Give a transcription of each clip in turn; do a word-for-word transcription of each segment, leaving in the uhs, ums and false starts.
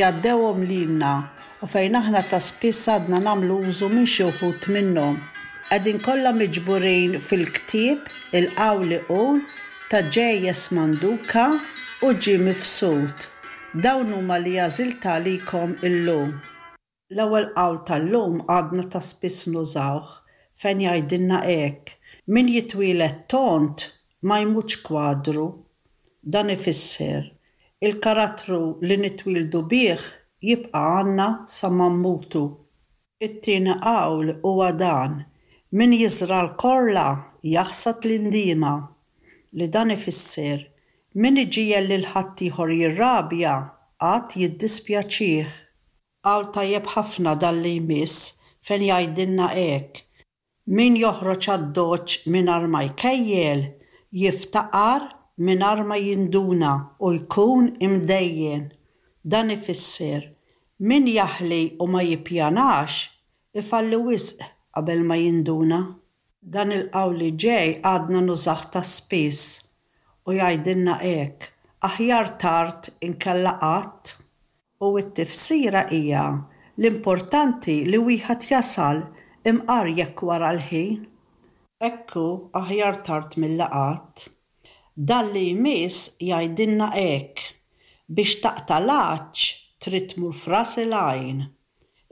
Għaddewhom lilna u fejn aħna ta' spiss għadna nagħmlu użu minn xi wħud minnhom. Qegħdin kollha miġburin fil-ktieb Il-Qawl Iqul ta' J S. Manduca u G. Mifsud. Dawn huma li għażilt għalikom illum. L-ewwel qawl tal-lum għadna ta' spiss nużawh, fejn jgħidilna hekk: "Min jitwieled tond ma jmutx kwadru." Dan ifisser il-karattru li nitwieldu bih jibqa' għandna sa ma mmutu. It-tieni qawl huwa dan: "Min jiżra' l-korla jaħsad l-indiema", li dan ifisser min iġiegħel lil ħaddieħor jirrabja għad jiddispjaċih. Qawl tajjeb ħafna dan li jmiss, fejn jgħidilna hekk: "Min joħroġ għad-doċ mingħajr ma jkejjel, jiftaqar mingħajr ma jinduna u jkun imdejjen." Dan ifisser min jaħli u ma jippjanax ifalli wisq qabel ma jinduna. Dan il-qawl li ġej għadna nużawh ta' spiss u jgħidilna hekk: "Aħjar tard inkella qatt." U t-tifsira hija l-importanti li wieħed jasal, imqar jekk wara l-ħin. Ekku, aħjar tard milli qatt. Dan li jmiss jgħidilna hekk: "Biex taqta' l-għatx trid tmur f'ras il-għajn."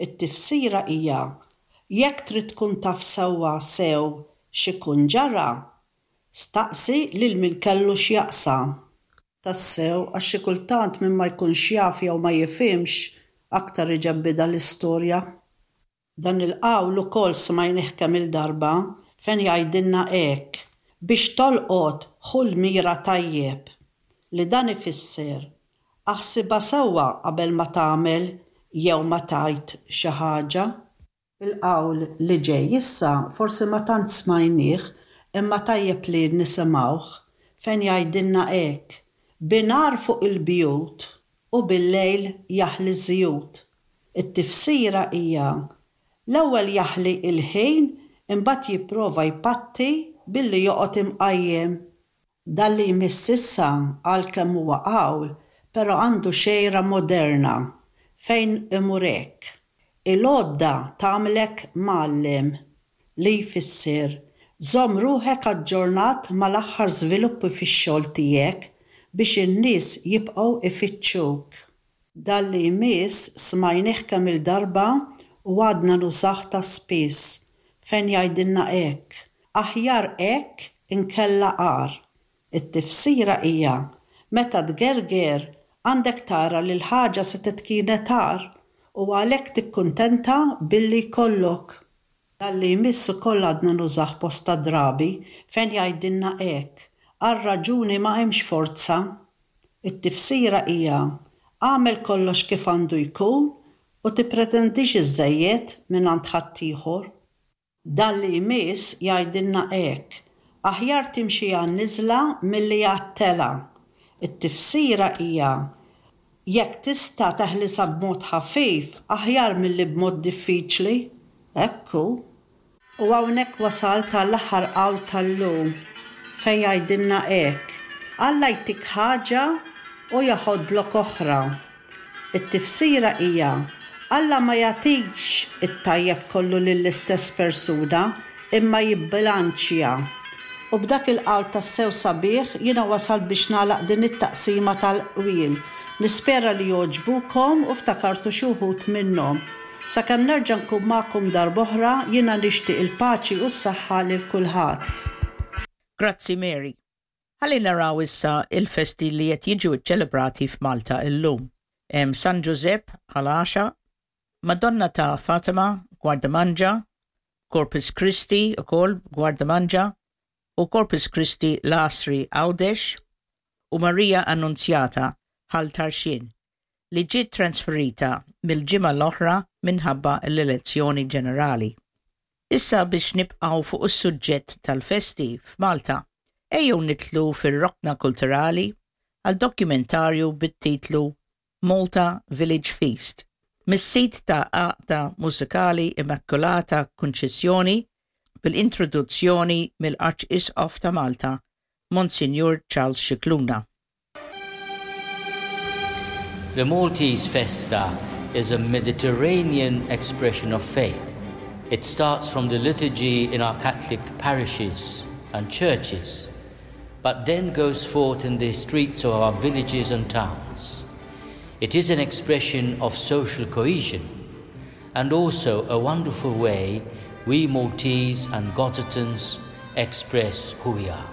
It-tifsira hija jekk trid tkun taf sewwa sew x'ikun ġara, staqsi lil min kellu x'jaqsam. Tassew, għax xi kultant min ma jkunx jaf jew ma jifhimx aktar iġebbidha l-istorja. Dan il-qawl ukoll smajnih kemm il-darba, fejn jgħidilna hekk: "Biex tolqot, ħu l-mira tajjeb", li dan ifisser aħsibha sewwa qabel ma tagħmel jew ma tgħid xi ħaġa. Il-qawl li ġej issa forsi ma tant smajnih, imma tajjeb li nisimgħuh, fejn jgħidilna hekk: "Binhar fuq il-bjut u bil-lejl jaħli żjut." It-tifsira hija l-ewwel jaħli il-ħin, imbagħad jipprova jpatti billi joqgħod imqajjem. Dan li jmiss issa, għalkemm huwa qawl, però għandu xejra moderna, fejn imur hekk: "Il-għodda tagħmlek mgħallem", li jfisser żomm ruħek aġġornat mal-aħħar żviluppi fix-xogħol tiegħek biex in-nies jibqgħu ifittxuk. Dan li jmiss smajnih kemm il-darba u għadna nużawh ta' spiss, fejn jgħidilna hekk: "Aħjar hekk inkella agħar." It-tifsira hija meta tgerger għandek tara li l-ħaġa setgħet kienet agħar u għalhekk tikkuntenta billi jkollok. Dan li jmiss ukoll għadna nużawh bosta drabi, fejn jgħidilna hekk: "Għar-raġuni ma hemmx forza." It-tifsira hija għamel kollox kif għandu jkun u tippretendix iżżejjed minn ħaddieħor. Dan li jmiss jgħidilna hekk: "Aħjar timxi għan-niżla milli għat-telgħa." It-tifsira hija jekk tista' teħlisha b'mod ħafif aħjar milli b'mod diffiċli. Ekku. U hawnhekk wasalt għall-aħħar qawl tal-lum, fejn jgħidilna hekk: "Alla jtik ħaġa u jaħodlok oħra." It-tifsira hija Alla ma jagħtix it-tajjeb kollu lill-istess persuna, imma jibbilanċja. U b'dak il-qawl tassew sabiħ jiena wasalt biex nagħlaq din it-taqsima tal-qwiel. Nispera li jogħġbukom u ftakartu xi wħud minnhom. Sakemm nerġa' nkun magħkom darb'oħra, jiena nixtieq il-paċi u s-saħħa lil kulħadd. Grazzi, Mary. Ħalli naraw issa il-festi li qed jiġu ċelebrati f'Malta illum. Hemm San Giuseppe Ħal Għaxaq, Madonna ta' Fatima, Gwardamanġa, Corpus Christi ukoll Gwardamanġa, u Corpus Christi l-Għasri Għawdex, u Maria Annunzjata Ħal Tarxien, li ġiet transferita mill-ġimgħa l-oħra minħabba l-elezzjoni ġenerali. Issa, biex nibqgħu fuq is-suġġett tal-festi f'Malta, ejjew nidħlu fir-rokna kulturali għal dokumentarju bit-titlu Malta Village Feast mis-sit ta' Għaqda Mużikali Immakulata Kunċizzjoni, bil-introduzzjoni mill-Arċisqof ta' Malta, Monsignor Charles Scicluna. The Maltese Festa is a Mediterranean expression of faith. It starts from the liturgy in our Catholic parishes and churches, but then goes forth in the streets of our villages and towns. It is an expression of social cohesion and also a wonderful way we Maltese and Gozitans express who we are.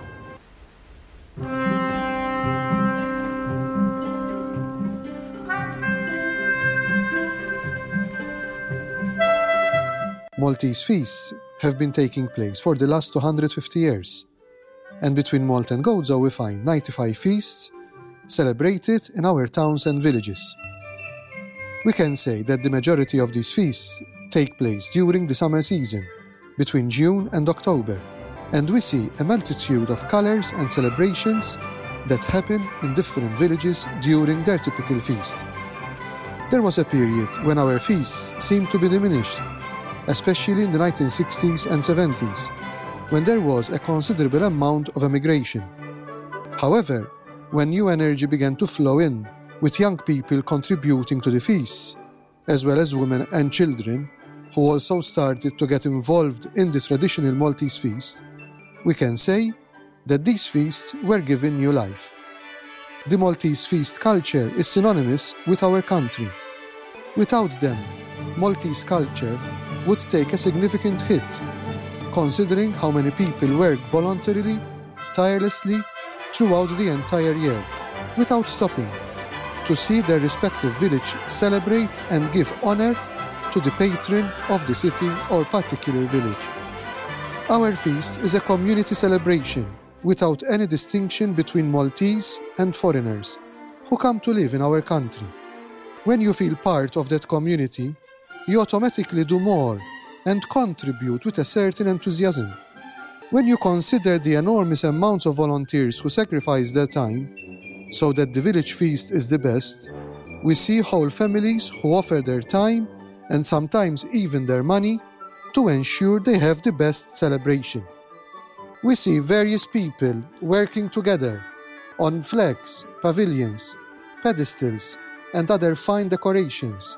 Maltese feasts have been taking place for the last two hundred fifty years, and between Malta and Gozo we find ninety-five feasts celebrated in our towns and villages. We can say that the majority of these feasts take place during the summer season, between June and October, and we see a multitude of colors and celebrations that happen in different villages during their typical feast. There was a period when our feasts seemed to be diminished, especially in the nineteen sixties and seventies, when there was a considerable amount of emigration. However, when new energy began to flow in, with young people contributing to the feasts, as well as women and children, who also started to get involved in the traditional Maltese feast, we can say that these feasts were given new life. The Maltese feast culture is synonymous with our country. Without them, Maltese culture would take a significant hit, considering how many people work voluntarily, tirelessly, throughout the entire year, without stopping, to see their respective village celebrate and give honor to the patron of the city or particular village. Our feast is a community celebration without any distinction between Maltese and foreigners who come to live in our country. When you feel part of that community, you automatically do more and contribute with a certain enthusiasm. When you consider the enormous amounts of volunteers who sacrifice their time so that the village feast is the best, we see whole families who offer their time and sometimes even their money to ensure they have the best celebration. We see various people working together on flags, pavilions, pedestals, and other fine decorations,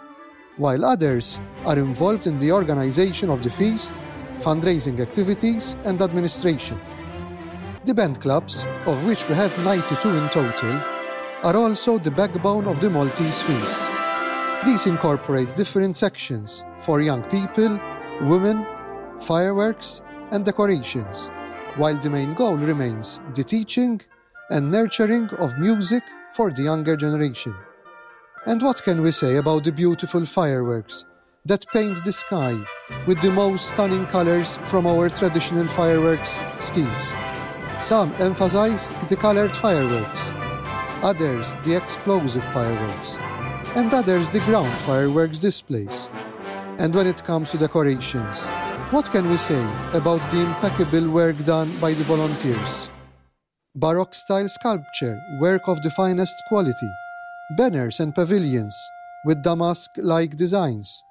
while others are involved in the organization of the feast, fundraising activities, and administration. The band clubs, of which we have ninety-two in total, are also the backbone of the Maltese feast. These incorporate different sections for young people, women, fireworks, and decorations, while the main goal remains the teaching and nurturing of music for the younger generation. And what can we say about the beautiful fireworks that paint the sky with the most stunning colors from our traditional fireworks schemes? Some emphasize the colored fireworks, others the explosive fireworks, and others the ground fireworks displays. And when it comes to decorations, what can we say about the impeccable work done by the volunteers? Baroque-style sculpture, work of the finest quality, banners and pavilions with damask-like designs,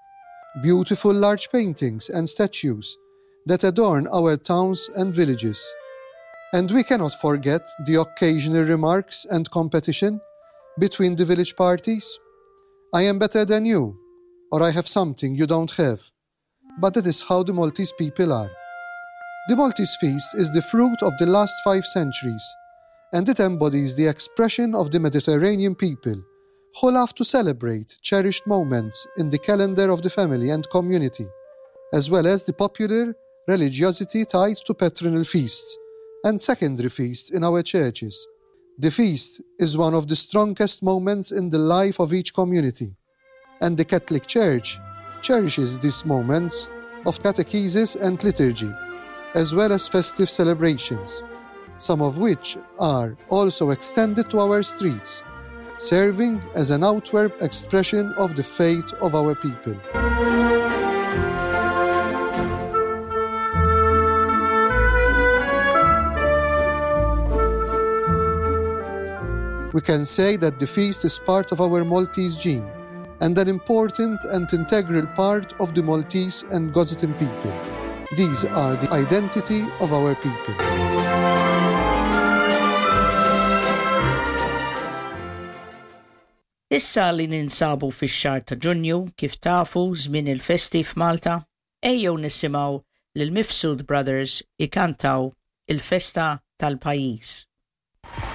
beautiful large paintings and statues that adorn our towns and villages. And we cannot forget the occasional remarks and competition between the village parties. I am better than you, or I have something you don't have. But that is how the Maltese people are. The Maltese feast is the fruit of the last five centuries, and it embodies the expression of the Mediterranean people who love to celebrate cherished moments in the calendar of the family and community, as well as the popular religiosity tied to patronal feasts and secondary feasts in our churches. The feast is one of the strongest moments in the life of each community, and the Catholic Church cherishes these moments of catechesis and liturgy, as well as festive celebrations, some of which are also extended to our streets, serving as an outward expression of the faith of our people. We can say that the feast is part of our Maltese gene and an important and integral part of the Maltese and Gozitan people. These are the identity of our people. Issa li ninsabu fix-xahar ta' Ġunju, kif tafu, żmien il-festi f'Malta, ejjew nisimgħu lil Mifsud Brothers ikantaw il-festa tal-pajjiż.